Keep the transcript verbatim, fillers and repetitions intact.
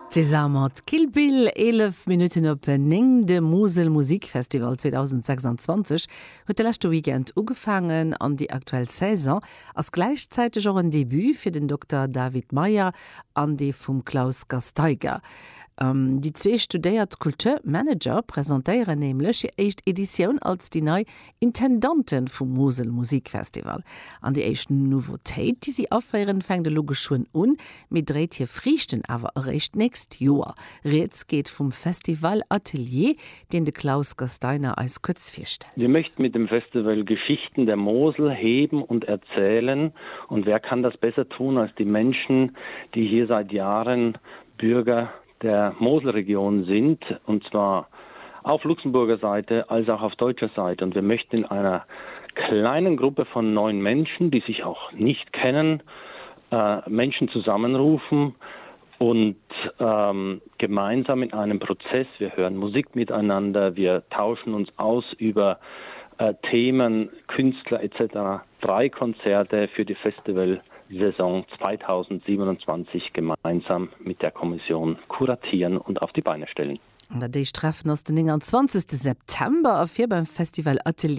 César mat Kill Bill eelef Minutten op néng. De Musel Musikfestival zweedausendsechsanzwanzeg huet de leschte Weekend ugefaangen an déi aktuell Saison ass gläichzäiteg och en Debut fir den Dokter David Meyer an dee vum Klaus Gasteiger. Déi zwee studéiert Kulturmanager presentéieren nämlech hir éischt Editioun als déi nei Intendanten vum Musel Musikfestival. An déi éischt Nouveautéit, déi si aféieren, fänkt elo geschwënn un, mee dréit hir Friichten awer eréischt d'nächst Joer. Rieds geet vum Festival Atelier, deen de Klaus Gasteiner eis kuerz virstellt. Wir möchten mit dem Festival Geschichten der Mosel heben und erzählen. Und wer kann das besser tun als die Menschen, die hier seit Jahren Bürger der Moselregion sind, und zwar auf Luxemburger Seite als auch auf deutscher Seite. Und wir möchten in einer kleinen Gruppe von neun Menschen, die sich auch nicht kennen, äh, Menschen zusammenrufen und ähm, gemeinsam in einem Prozess, wir hören Musik miteinander, wir tauschen uns aus über äh, Themen, Künstler et cetera, drei Konzerte für die Festivalsaison zweitausendsiebenundzwanzig gemeinsam mit der Kommission kuratieren und auf die Beine stellen. An dat éischt Treffen ass den nénganzwanzegste September a fir beim Festival Atelier.